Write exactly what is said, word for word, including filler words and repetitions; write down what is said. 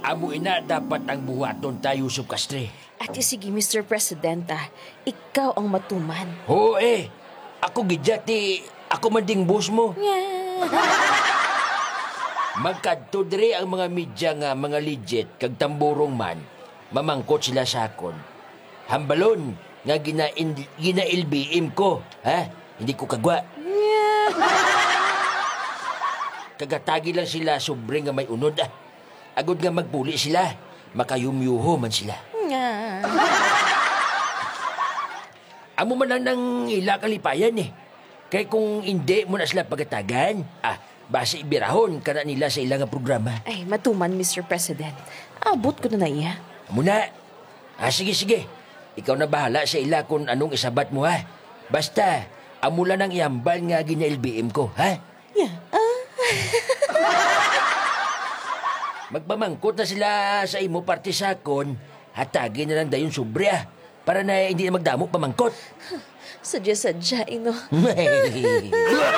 Amo ina dapat ang buhaton ta, Yusuf Castre. Ati sige, Mister Presidenta, ikaw ang matuman. Oo, eh. Ako gid ya, ti ako man ding boss mo. Magkadto diri ang mga media nga mga legit kag tamburong man. Mamangkot sila sa akon. Hambalon nga gina-, gina-L B M ko, ha? Hindi ko kagwa. Kagatagi lang sila sobre nga may unod, ah. Agod nga magpuli sila, makayumyuho man sila. Nga. Amo man lang nang ila kalipayan, eh. Kay kung indi mo na sila pagatagan, ah, basi birahon ka na nila sa ila nga programa. Ay, matuman, Mister President. Abot ko na na iya. Amo na. Ah, sige, sige. Ikaw na bahala sa ila kung anong isabat mo, ha? Basta, amo lang ang ihambal nga gina-L B M ko, ha? Ya, ah. Magpamangkot na sila sa imo parte sa akon, hatagi na lang dayon sobre, ah, para na hindi na magdamo pamangkot. Sadya-sadya, ino.